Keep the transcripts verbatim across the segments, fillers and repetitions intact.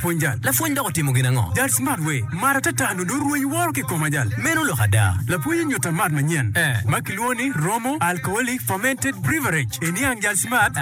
Pwony jal. Lapwony dok otimo gin ango? Jal smart we, mat atata nongo rwenyo woro ki koma jal. Meno lok ada. Lapwony onyuta mat manyen Eh. ma kilwongo ni Romo Alcoholic Fermented Beverage. Iniang jal smart.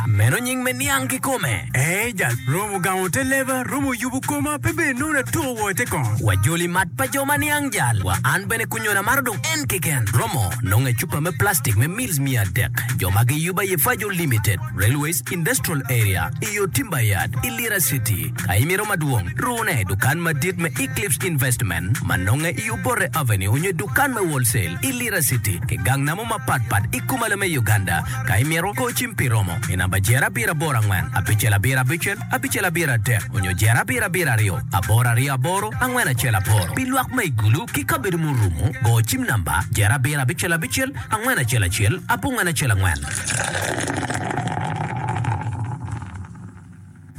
Meno nying me niang kikome. Eh jal, Romo gamo te leba, Romo yubo koma, pe bene nongo natuko wo te kongo. Wajoli mat pa jo ma niang jal. Wa an bene kunyona maro dong en keken. Romo nongo e cupa me plastic me mils mia adek. Jo ma giyubo aye Fajo Limited, Railways Industrial Area, iyo Timber Yard, i Lira City. Ka imito madwong, rune i dukan madit me Eclipse Investment ma nonge i Obote Avenue nyo i dukan me Wholesale i Lira City ki gang namo mapatpat i kumalo me Uganda. Ka imito, go cim pi romo i namba jero abiro aboro angwen abicel abiro abicel abicel abiro adek onyo jero abiro abiro aryo aboro aryo aboro angwen acel aboro. Pi lwak ma i Gulu ki kabedo murumo, go cim namba jero abiro abicel abicel angwen acel acel abongwen acel angwen.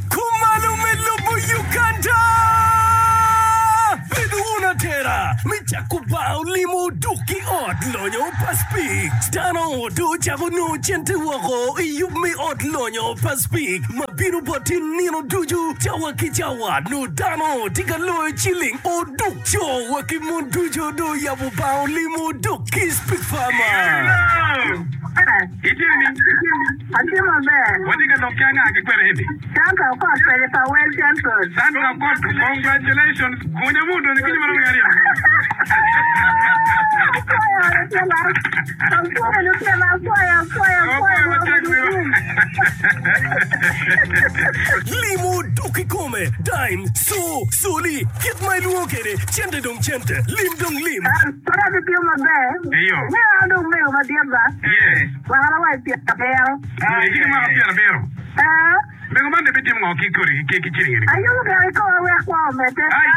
Kumalo me lobo Uganda! Bedo wun atera me cako bar olimo duk ki ot lonyo pa Speke. Dano do ocako nongo cente woko i yub me ot lonyo pa Speke ma bino boti nino ducu cawa ki cawa. Nongo dano tye ka loyo ciling oduk co wa ki mon ducu do oyabo bar olimo duk ki Speke Farmer. Itye ni? Atye maber. Watye ka lok ki anga ki kwene eni? Sandra Okot pede pa Well Central. Sandra Okot, congratulations. Gunya mu donyo kinyi marom aryo. Apwoyo lutino. Apwoyo lutino, apwoyo, apwoyo, apwoyo. Apwoyo matek Rwot wiwa. Limo duk kikome, dime, co, soli, kit ma ilwongo kwede, cente dong cente, lim dong lim. Kore atye maber. Iyo. Meno an dong mego madit ba. Yes. Mwaka wa i pyera abiro. Itye ki mwaka pyera abiro. Eh, Mego man de bitimo ngo ki kodi ki ki ciling eni? ayubo gire koma wek kwo omedde. Ai.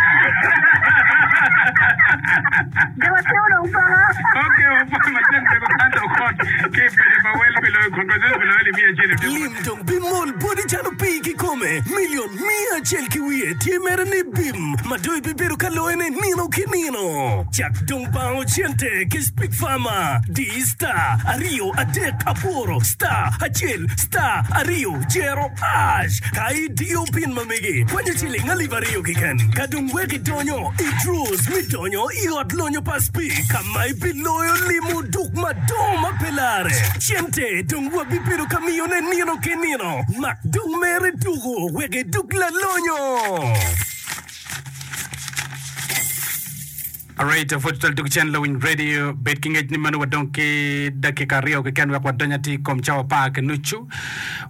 Jo matino dong paka. Okay, wapwoyo matek mego Sandra Okot ki pejo pa wel pi loyo congratulations pi loyo alip miya acel. Lim dong bimol boti calo pii kikome. Milion miya acel ki wiye tye mere ni bim ma dong ibibedo ka loyone nino ki nino. Cak dong bango cente ki Speke Farmer. Di star aryo adek aboro star acel star aryo jero hash. Ka idiyo pin ma megi kwanyo ciling alip aryo keken. Ka dong wek idonyo i draws mi donyo i ot lonyo pa Speke ka ma ibiloyo limo duk madongo ma pe lare. Cente dong wabibedo ka miyone nino ki nino. Mak dong mere tuko wek iduk lalonyo. Alright, pwod twal duk cen lawiny radio bed ki ngec ni meno wadong ki dakika aryo keken wek wadony atir i kom cawa apar ki nucu.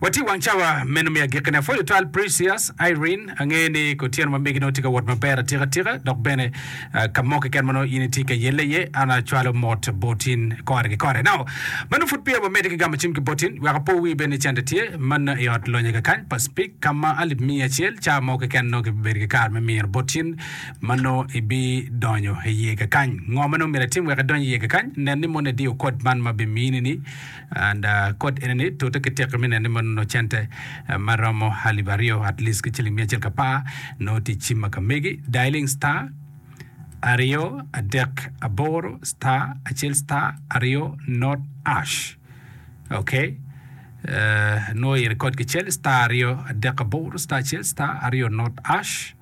Watye i wang cawa meno me agikkine. Apwoyo twal Precious Irene angeyo ni kutyeno ma megi nongo tye ka wot maber atika atika dok bene uh, ka mo keken ma nongo in itye ka yelle iye an acwalo mot botin kore ki kore. Now, meno pud peya wamedde ki gamo cim ki botin wek apo wi bene ni cente tye manno i ot lonyo kakany pa Speke ka ma alip miya acel cawa mo keken nongo kibibedo ki kare me miro botin ma nongo ibidonyo iye kakany. Ngo ma nongo myero itim wek idony iye kakany? Nen ni mono idiyo kod man ma bimini ni and uh, kod eni ni tute ki teki me neno ni mono nongo cente uh, ma romo alip aryo at least ki ciling miya acel ki apar nongo tye i cim ma ka megi dialing star aryo adek aboro star acel star aryo not hash. Okay. Uh, nongo i record kicel star aryo adek aboro star acel star aryo not hash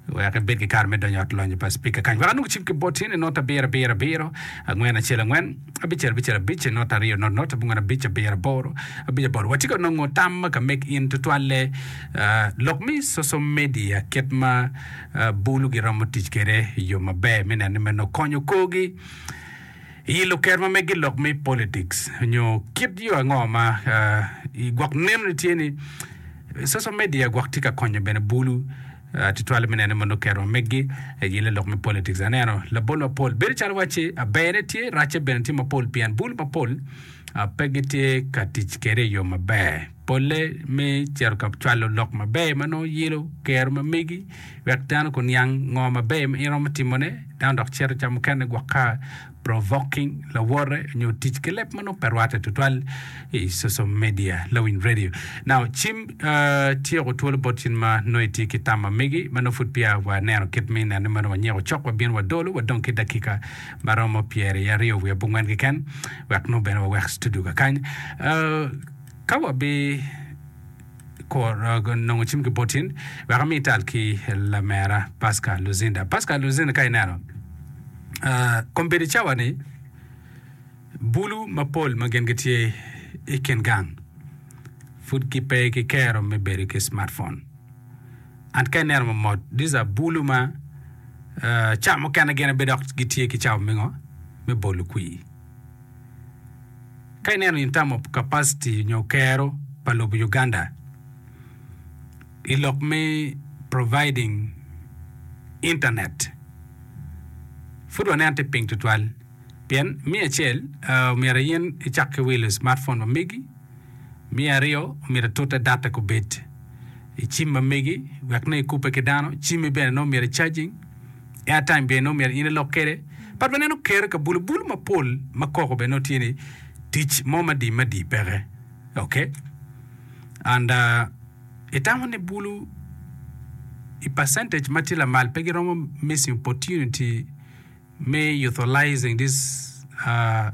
wek ibed ki kare me donyo ot lonyo pa speaker kany wek anong cim ki botin i not abiro abiro abiro angwen acel angwen abicel abicel abic not aryo not not abongwen abic abiro aboro abic aboro watye ka nongo tam ma ka mek in tutwalle uh, lok mi social media kit ma uh, bulu giromo tic kwede i yo maber me neno ni meno konyo korgi i luker ma megi lok me politics nyo kit yo ango ma uh, i gwok neno ni tye ni social media gwok tye ka konyo bene bulu uh, tutwal me neno mondo ker ma megi yele lok me politics aneno labol mapol bedo calo wacci aberne tye racce bene tye mapol pien bulu mapol uh, pe gitye ka tic kwede i yo maber polle me cito ka cwalo lok maber ma nongo yelo kero ma megi wek dano kuniang ngo maber ma in romo timone dano dok cito ca mukene gwok ka provoking lawote nyo tic ki leb ma nongo pe rwatte tutwal i social media lawiny radio now cim uh, tyeko twolo bot cin ma nongo itye ki tam ma megi ma nongo pud peya waneno kit me neno ni meno wanyeko cok wabino wadolo wadong ki dakika ma romo pyeri aryo wiye abongwen keken wek nongo bene wawek studio kakany uh, ka wabi kor nongo cim ki bot in wek ami tal ki lamera Pascal Luzinda. Pascal Luzinda ka ineno uh, kombeddi cawa ni bulu mapol ma gin gitye i kin gang pud gipe ki kero me bedo ki smartphone. And ka ineno mamot, these are bulu ma uh, ca mukene gin abe dok gitye ki cawa me ngo? Me bolo kwir. Ka ineno in term of capacity nyo kero pa lobo Uganda i lok me providing internet pud waneno tye piny tutwal pien me acel uh, myero in icak ki wilo smartphone ma megi me aryo myero itute data kubed i cim ma megi wek ne ikube ki dano cimmi bene nongo myero charging airtime bene nongo myero in ilok kwede but waneno kero ka bulu bulu mapol ma koko bene nongo tye ni tic mo madi madi peke okay and uh, itamo ni bulu i percentage ma tye lamal pe giromo missing opportunity me utilizing this uh,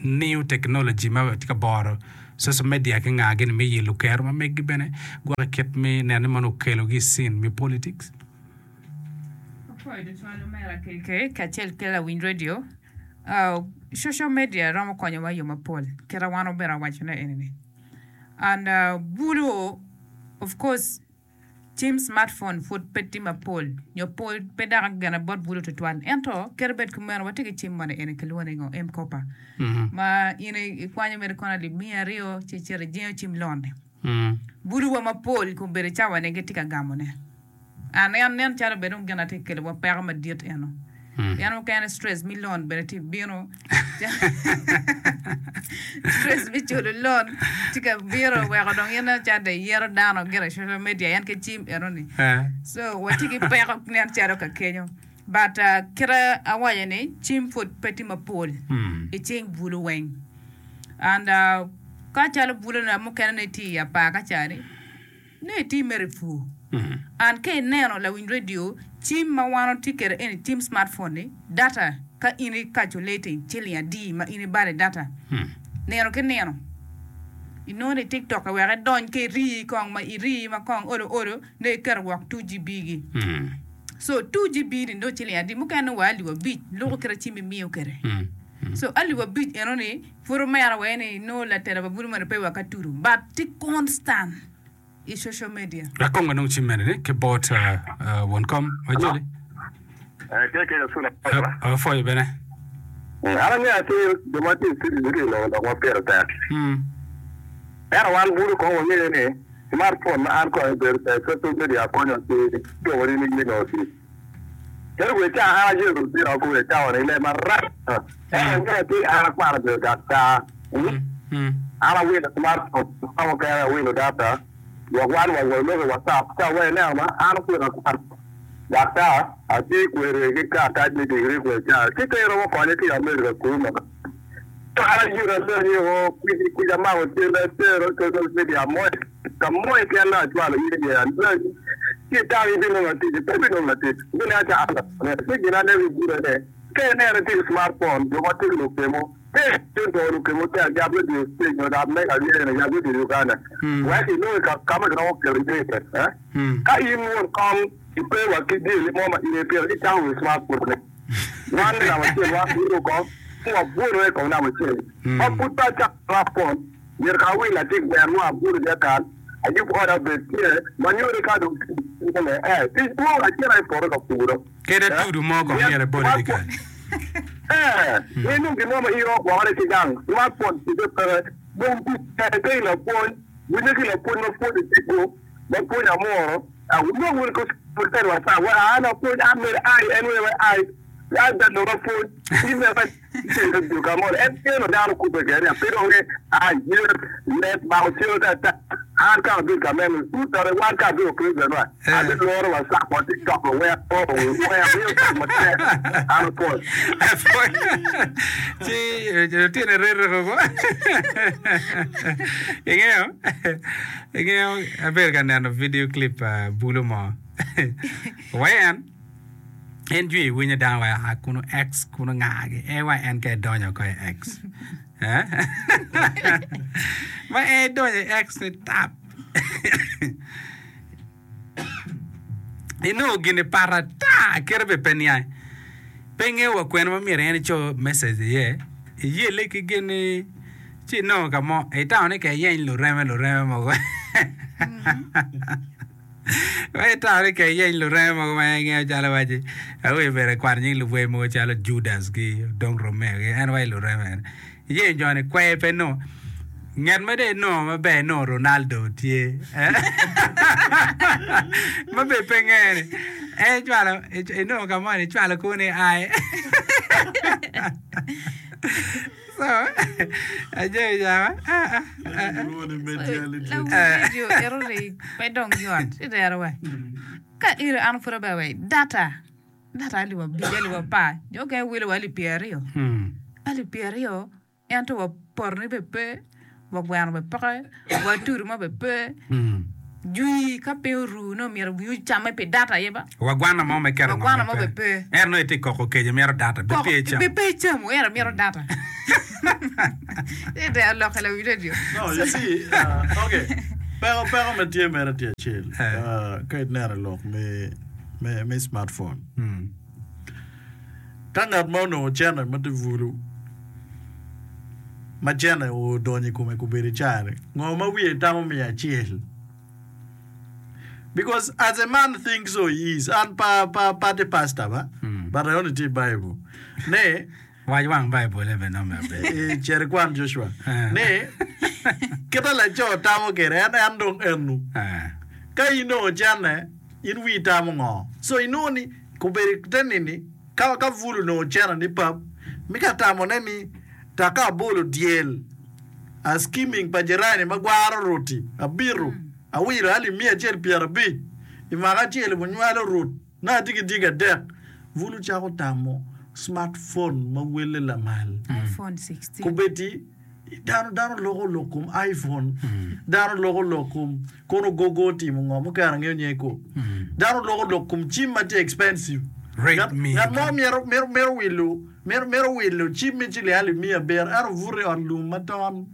new technology ma tye ka boro social media ki nga gini me yelo kero ma megi bene gwokke kit me neno ni mono okelogi i scene me politics. Apwoyo tutwal omera K K kacel ki lawiny radio. Uh, social media romo konyowa i yo mapol kita wan obedo awacone eni-ni. And uh, bulu of course cim smartphone pud pe tye mapol nyo pol pe dok gene bot bulu tutwal ento kadi bed kumeno watye ki cim moni eni kilwongo ni ngo M-Kopa ma in ikwanyo mere kono alip miya aryo ci icito ijingo cim loan-ni. Bulu wa mapol kombeddi cawa ni gitye ka gamone. An en nen calo bene dong gin atye ka kelo wa peko madit eno. Pien mukene stress me loan bene tye bino stress me culo loan tye ka bino weko dong in nen calo dong iyero dano gire i social media en ki cim eno ni. So watye ki peko nen calo ka kenyo. But uh, kite awaco ni cim pud pe tye mapol i cing bulu weng. And uh, ka calo bulu na mukene ni tye i apar ka ca-ni ne itye mere i pur. And ka ineno lawiny radio, cim ma wan watye kwede eni cim smartphone ni, data ka in i calculating ciling adi ma in ibalo i data nino ki nino, inongo ni tiktok wek idony ka irii kong ma irii ma kong olo olo ne iketo wok two G B gi. So two G B ni nongo ciling adi mukene nongo wa alip abic luko kite cim imiyo kwede. So alip abic eno ni pud omera wee ni nongo latela pa bulu moni pe wa ka tudo but tye constant i social media. Wek kong wanong cim mene ni ki bot won kom wajoli. Apwoyo bene. An angeyo atir jo ma tye i studio gitye ka loko lok ma pire tek. Ento wan bulu kong wangeyo ni smartphone ma an kong abedo kwede social media konyo ki dwoko ni me nongo tic. Calo kwe ca an ayelo lutino kome cawa ni leb marac. Ento angeyo atir an akwano abedo daktar. An awilo smartphone ka mukene awilo data wek wan wa walok i WhatsApp ca wa ineno ma an okweno akwano daktar atye kwede ki karatac me digiri kwe ca ci pe iromo konye ki i America kunu ma an ayuto alonyo o kwici kwici amako cente atero i social media mo ka mo keken dong acwalo in iye alonyi ci itam ibinongo latic pe ibinongo latic ibineno ca an ci gin aneno i bute ne ka ineno itye ki smartphone jo ma tye ki lukemo Wek inongo ka ma kiromo keto iye Ka in won kom ipe wa ki jami mo ma in ipito, ci camo wi smartphone-ni. Wan me namba acel wan bino ko ci wabwolo i kom namba acel. Ma pud pe acako smartphone, myero ka awil latik ber mo abwolo dyakal, ayub oda obed tye ma nyuto ni ka dong tic dwong, eh, tic dwong acito i poto ka puro. Kadi atudu mo kong myero ebol i dyekal. Eh, in dong gin mo ma in iromo gwokone ki gang, smartphone ticce peke. Dong tic tek ki lapwony, winyo ki lapwony ma pwonyo tipo, ma pwonyo amuro, wunong wunu ki WhatsApp, wa an apwony, an mere ai, en wee ai, an jalo apwony, in bene pe ka mo, en kelo dano kubbe kede, pe dong ni ai yer leb mako cel ka ta, an ka abedo ka meno, tutore wan ka abedo president wa, abiloro WhatsApp wa TikTok wa wek wek amiyo tic matek, an apwony. Ci lutino rereko ko. Ingeyo, ingeyo abedo ka neno video clip pa bulu mo. Wa en, en jwi winyo dano wa a kunu X kunu ngagi. En wa en ka edonyo ko i X. Eh? Ma en edonyo i X ni tap. Inongo gini pat ata kite bene pe niange. Pe ingeyo wa kwene ma myero en eco message iye, iyelle ki gin-ni ci inongo ka mo itamo ni ka iyeny lureme lureme mogo Wek itamo ni ka iyeny lureme mogo ma ingeyo calo waci awi bene kwano nying lubwe mogo calo Judas gi Odong Romeo gi en waci lureme ene. Iyenyo jo ni kwer pe nongo. Nget ma dong inongo maber inongo Ronaldo tye ma bene pe ngeye ni en icwalo inongo ka moni icwalo kwo ni ai so ajami cawa Lawil ero-ri pe dong yot itero wa. Ka iro an pud aber wa data data alip abic alip apar jo mukene wilo wa alip pyeraryo alip pyeraryo ento wa potoni bene pe wa gweno bene peke wa tudo mo bene pe jwi ka piny oru nongo myero wiyi ocamme pi data aye ba Wa gwana mo me keto wa gwana mo bene pe Ento nongo itye koko keco mito data be pe icamo. Be pe icamo ento mito data Ite alokke lawi radio. No, you see, uh, okay. Peko peko ma tye mere tye acel. Uh, ka ineno lok me me me smartphone. Ka ngat ma onongo cene ma tye bulu ma cene odonyo i kome kobedo i caa-ni, ngo ma wiye tamo miyo acel? Because as a man thinks so he is. An pa pa pa atye pastor ba, but I only tye i Bible ni Wac wang Baibul-le bene nongo myero obed. Eh, Cit ikwan Joshua. Ni, kite laco tamo kwede, en, en dong enu. Ka in dong ocenne, in wii tamo ngo? So inongo ni, kobedo te nini, ka, ka bul onongo ocenne ni pap, mi ka tamone ni, tak ka abolo dyel, a skimming pa jirani ma gwaro ruti, abito, awilo alip miya acel pyerabic, i mwaka acel bunywalo rut. Nongo atye ki dyegi adek, bulu cako tamo smartphone ma welle lamal. Kombeddi dano dano loko lok kom iPhone, dano loko lok kom kono gogo otimo ngo mukene angeyo nyinge ko. Dano loko lok kom cim ma tye expensive. Ngat ngat mo myero mito mito wilo mito mito wilo cim me ciling alip miya abiro ento obuto i ot lum ma ton.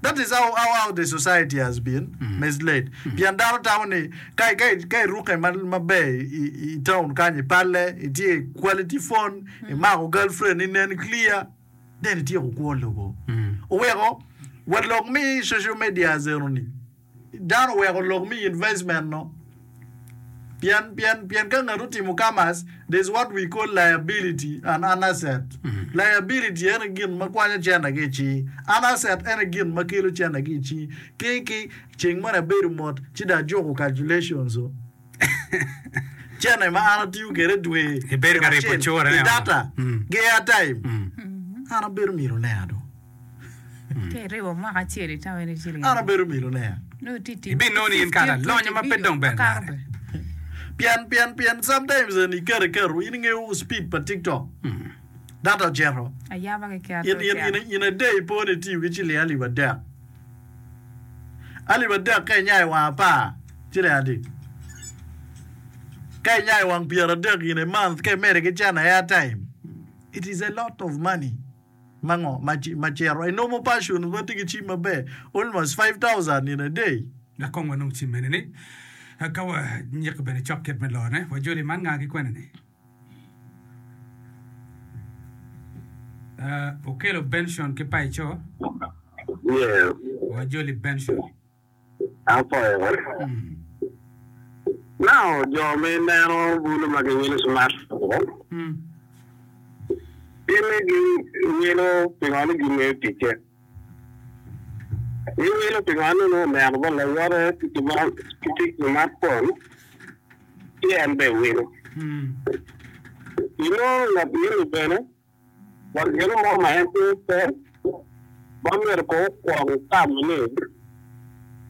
That is how, how, how the society has been misled. Pien dano tamo ni ka, ka, ka irukke ma- maber i, i town kany i palle, itye i quality phone, imako girlfriend inen clear, then ityeko kwo lobo. Oweko wa lok me social media eno ni Dano oweko lok me investment no pien pien pien ka ngat otimo commerce there's what we call liability and an asset. Liability ene gin ma kwanyo cente ki i cingi, an asset ene gin ma kelo cente ki i cingi. Ki ki ceng moni abedo mot ci dong ajuko calculations o. Cente ma an atiyo kwede dwe Ibedo ka ribo acel cure i ne data ki airtime an abedo millionaire do. Ka iribo mwaka acel itamo in iciling An adi? abedo milioneya. Nongo itye tic Ibinongo ni in kara fifteen lonyo twenty ma pe million dong ber makato lare. bene. Pien, pien, pien sometimes en iketo iketo, in ingeyo speed pa TikTok. Data ocito. Ayaba keken In, in, in, in a day ipo ni itiyo ki ciling alip adek. Alip adek ka inyayo wang apar, ciling adi? Ka inyayo wang pyeradek in a month, ka imedo ki cene airtime, it is a lot of money. Ma ngo ma cito i normal person ma tye ki cim maber almost five thousand in a day. Dok kong wanong cim mene ni ka wa nyiko bene cok kit me lone. Wa joli man nga ki kwene ni? Uh, okelo Benson ki Paico. Yeah. Wa joli Benson. Apwoyo. Now, jo ma ineno bulu ma giwilo smartphone, gin ni giwilo pingo ni gingeyo ticce. Giwilo pingo ni nongo oneno bot lawote tye ki smartphone ci en bene wilo. Inongo ngat eni bene Dok gin mo ma en tye pe ma myero kong okwong tamo ni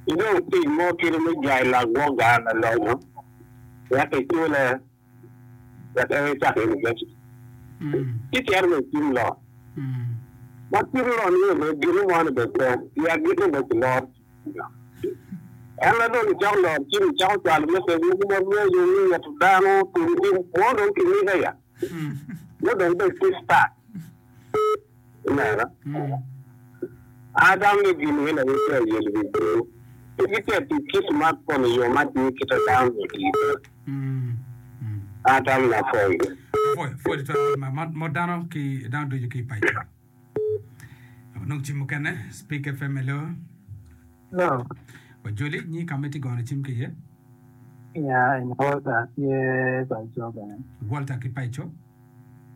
inong tic mo kit me jwayo lagwok gang lalonyo wek icule wek en ecak univaciti ci cito wa i cim lon. Ma cim lon ni bene gin mo ni bene pe i agikki bene kiloro cim. En ma dong icako loro cim icako cwalo message mogo mabeco me ngeto dano tum tim mo dong kimika ya. Nongo dong ibed ki star. Ineno? An atamo ni gin eni aye tye ayelo wi bulu. Gitye tic ki smartphone i yo ma tye kite dano myero oti kwede. An atamo ni apwoyo. Apwoyo, pwoyo tutwal ma mot dano ki dano ducu ki i paco. Nong cim mukene, Speak FM hello. Hello. Wajoli, nyi ka ma itye gono cim ki iye? Ya, eni Walter tye paco bene. Walter ki paco?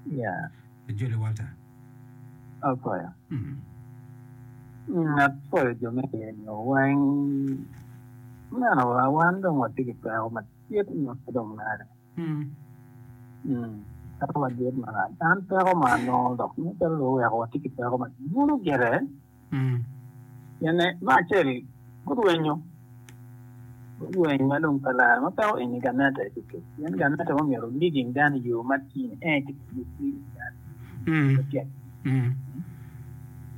Ya. Wajoli Walter. Apwoyo. Apwoyo jo me iye-ni weng. Ineno wa, wan dong watye ki peko madit ma pe dong lare. Peko madit marac. An peko ma anongo dok nen calo dong oweko watye ki peko madwong gire. Pien me acel gurwenyo, gurweny ma dong pe lare ma peko eni gamente aye tye kec. Pien gamente ma myero leading dano i yo matir en aye tye ka misleading dano.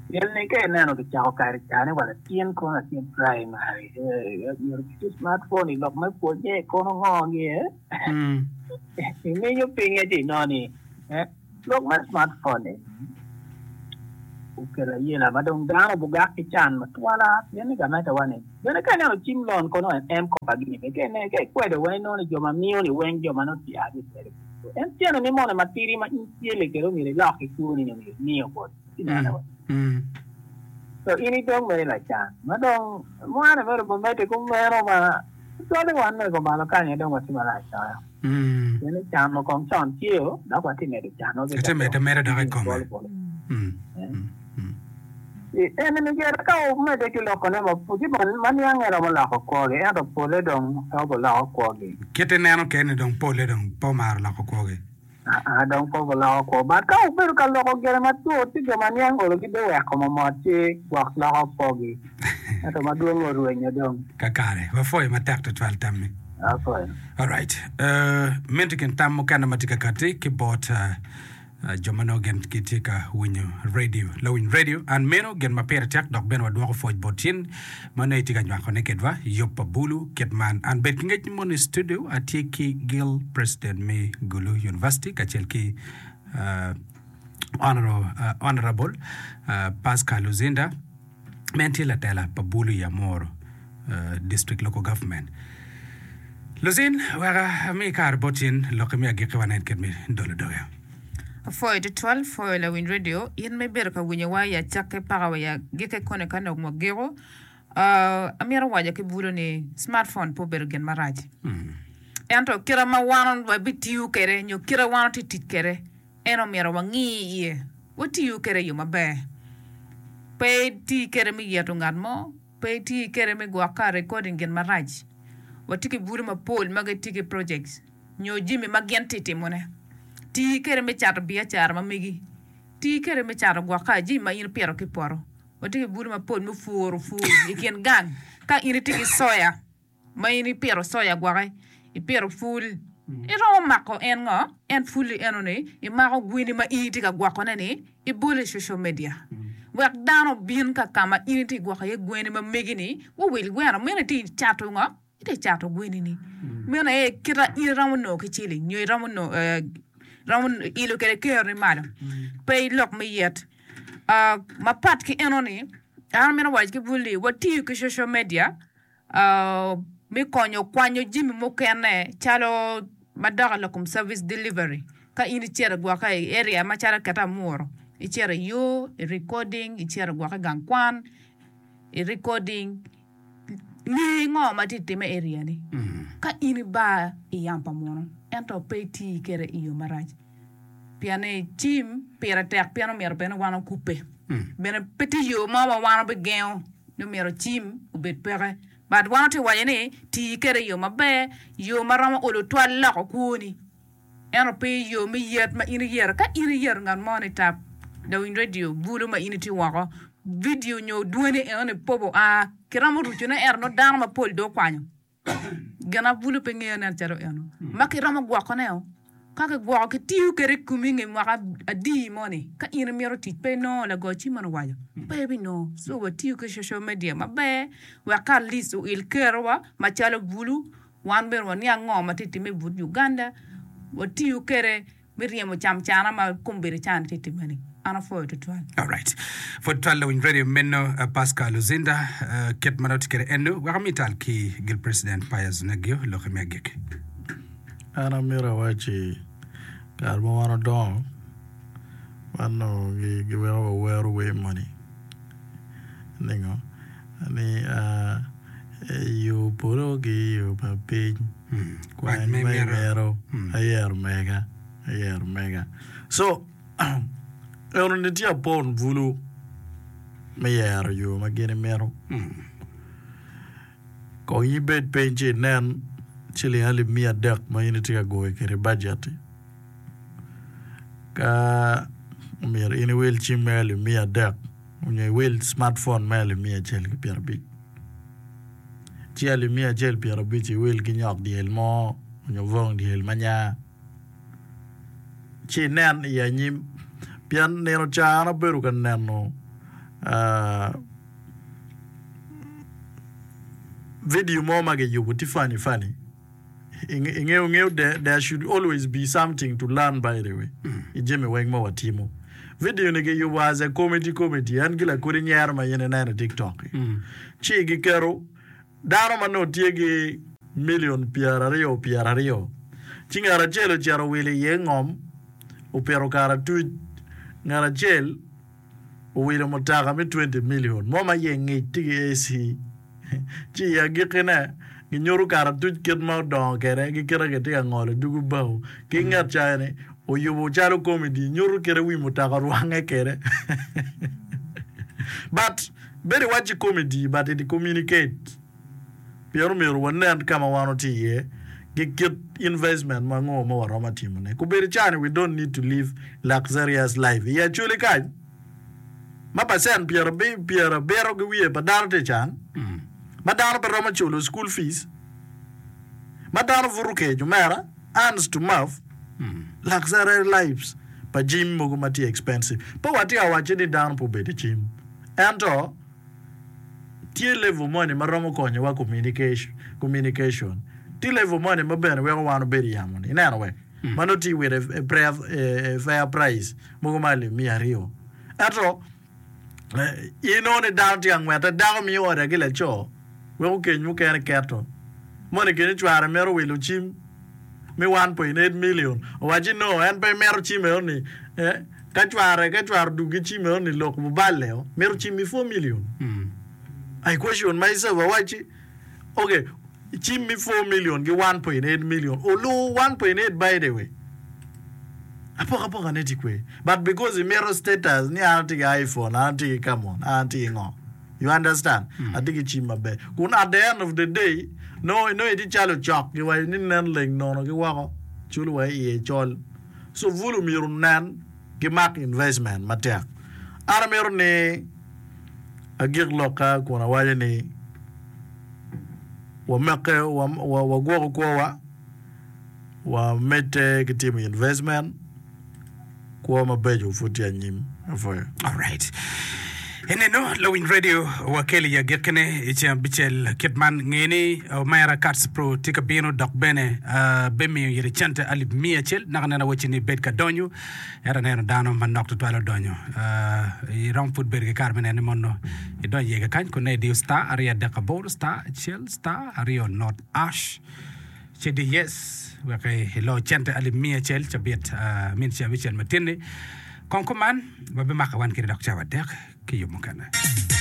Pien ni ka ineno kicako kare ca ni wa latin kono latin primary myero ki smartphone i lok me pwonye kono ngo gi iminyo pinye ci inongo ni lok me smartphone ni okelo ayela ma dong dano bugak ki can matwala pien ni gamente wa ni bene ka ineno cim loan kono en M-kopa gini bene ka ikwedo weng inongo ni jo ma miyo ni weng jo ma nongo tye ki kwede En tyene ni moni matidi ma in icelle kwede omyero ilok ki kwoni nyo myero imiyo boti. Ineno wa? So in idong mere lacan. Ma dong mwane mere obimedde kumeno ma tutwalle wan mego malo kany aye dong watye marac loyo. Pien ni can ma kong con tye o dok watye medo canwa ki Itye medo mere dok i kome. En myero ka omedde ki lokone mapol, ci ma niange romo loko kwogi, ento polle dong pe obiloko kwogi. Kit ineno kene dong polle dong pe omaro loko kwogi. Aa, dong pe obiloko kwo. But ka obedo ka loko gire matut, ci jo ma niang olo gibiweko momot ci gwok loko kwogi. Ento madwong orwenyo dong. Kakare, wapwoyo matek tutwal tammi. Apwoyo. Alright, uh, meno tye kin tam mukene ma tye ka katti ki bot uh, Jo ma nongo gin gitye ka winyo redio. Lawiny redio, an meno gin ma pire tek dok bene wadwoko pwoc bot in ma nongo itye ka nywakone kedwa yub pa bulu kit man. An bed ki ngec ni mono i studio atye ki Guild President me Gulu University kacel ki Honourable Pascal Luzinda. ma en tye latela pa bulu i Amuru District Local Government. Luzin, wek ami kare bot in lokki me agikki wanen kit me dolo doge. Apwoyo tutwal, pwoyo lawiny radio, in ma ibedo ka winyowa i acakke paka wa i agikke koni ka nongo wagiko. Amito waco ki bulu ni smartphone pe obedo gin marac. Ento kite ma wan wabitiyo kwede nyo kite wan watye ka tic kwede En omyero wangi iye, watiyu kwede i yo maber. Pe iti kwede me yeto ngat mo, pe iti kwede me gwokke recording gin marac. Watye ki bulu mapol ma gitye ki projects nyo jami ma gin tye timone. Ti kwede me cato biacara ma megi. Ti kwede me cato gwokke jami ma in ipito ki i poto. Watye ki bulu mapol me puro pur i kin gang. Ka in itye ki soya ma in ipito soya gwoki, ipito pul, iromo mako en ngo? En pul-li eno-ni, imako gwini ma in itye ka gwokone-ni, ibolo i social media wek dano obin ka ka ma in itye ka gwoko iye gweni ma megi-ni, guwil gweno meno itye ka cato ngo? Itye ka cato gweni-ni. Meno aye kit ma in iromo nongo ki ciling nyo iromo nongo iromo ilo kwede keroni malo. Pe ilok me yet. Mapat ki eno-ni, an amito waco ki bul-li, watiyo ki social media me konyo kwanyo jami mukene calo madok i lok kom service delivery ka in icito gwokke i area macalo kit amuru icito i yo i recording icito gwokke i gang kwan i recording nge ngo ma tye ka timme i area ni ka in ibar i yam pa munu ento pe iti kwede i yo marac pien ni cim pire tek pien omyero bene wan okubbe bene pe tye yo mo ma wan wabigengo ni myero cim obed peke but wan watye ka waco ni ti kwede i yo maber yo ma romo olo twal loko kwoni ento pe i yo me yet ma in iyero ka in iyero ngat mo ni tap lawiny radio bulu ma in itye woko vidio nyo dwoni enoni pop oa kiromo rucone ento nongo dano mapol dong okwanyo. Gin ma bulu pe ngeyo nen calo eno ma kiromo gwokone-o. Ka kigwoko kitiyo kwede i komi i nge mwaka adi moni, ka in imito tic pe inongo lago cim meno owaco pe ibinongo. So watiyo ki social media maber wek ka at least oil kerowa macalo bulu wan bene waniang ngo ma tye ka timme i but Uganda watiyo kwede me ryemo camcana ma kombeddi cani tye ka timme-ni. An apwoyo tutwal. Alright. Pwod twal lawiny radio meno uh, Pascal Luzinda uh, kit ma nongo tye kwede eno wek ami tal ki gil President Pius Onegio loki me agikki. An amito awacci kare ma wan odongo wan onongo giweko wawero wer moni ningo ni yo polo ki yo pa piny Kwany kwany ma ma imito. imito ayero mega ayero mega so enoni tye apon bulu me yero yo ma gin imito kong ibed piny ci inen ciling alip miya adek ma in itye ka goyo kwede bajet-ti ka omyero in iwil cim me alip miya adek nyo iwil smartphone me alip miya acel ki pyerabic ci alip miya acel pyerabic iwil ki nyok dyel mo nyo bong dyel ma nya ci inen i anyim pien nino ca an abedo ka neno ah, video mo ma giyubo tye funny funny ingeyo ngeyo there, there should always be something to learn by the way i jami weng ma watimo video ni giyubo as a comedy comedy en gi lakodi nyero ma in ineno i tiktok ci giketo dano ma nongo tye gi million pyeraryo pyeraryo ci ngat acel ocito owilo iye ngom opito karatuc ngat acel owilo mutoka me twenty million mo ma iye ngic tye ki A C ci i agikkine ginyuto karatuc kit ma odongo kwede ki kite kitye ka ngolo dugu bao ki ngat ca ni oyubo calo comedy nyuto kite wi mutoka orwange kwede but bedo iwacci comedy but it communicate pien omyero wanen ka ma wan watye iye ki kit investment ma ngo ma waromo timone kobedo cani we don't need to live luxurious life i acholi kany ma percent pyerabiro ki wiye pa dano tye can ma dano pe romo culo school fees ma dano buto kec omera hands to mouth luxury lives pa gym mogo ma tye expensive pe watye ka wacci ni dano pe obedo i cim ento tye level moni ma romo konyowa communication tye level moni ma bene weko wan obedo i yamo ni ineno we ma nongo tye with a, a, fair price mogo ma alip miya aryo ento inongo ni dano tye ka ngwete dako miyo order ki laco weko keny mukene keto moni kenyo cware mito wilo cim me one point eight million owacci no en pe mito cim eno-ni eh, ka cware ka cware odug ki cim eno-ni lok oballe mito cim mi four million I question myself awacci okay cim mi four million ki one point eight million olu one point eight by the way apokapoka ne tye kwe but because imito status ni an atye ki iPhone an atye ki Camon an atye ki ngo you understand atye ki cim maber kun at the end of the day no no itye calo cok giwaco ni nen leng nono ki woko culo wa iye col so bulu myero nen gimak investment matek an amito ni agik lokka kun awaco ni wameke wagwoko kwowa wamedde ki timo investment kwo mabeco pud tye anyim apwoyo. Alright. Ineno lawiny radio wakelo i agikkine i ceng abicel kit man nge ni omera Cats Pro tye ka bino dok bene uh, bemiyo ire cente alip miya acel naka neno awacci ni bed ka donyo ento aneno dano manok tutwal odonyo uh, irom pud bedo ki kare me neno ni mono idonyo iye kakany kun ne idiyo star aryo adek aboro star acel star aryo not ash ci di yes wek ilo cente alip miya acel cabit uh, min ceng abicel matin-ni kong kuman wabimako wan kede dok cawa adek ki yub mukene.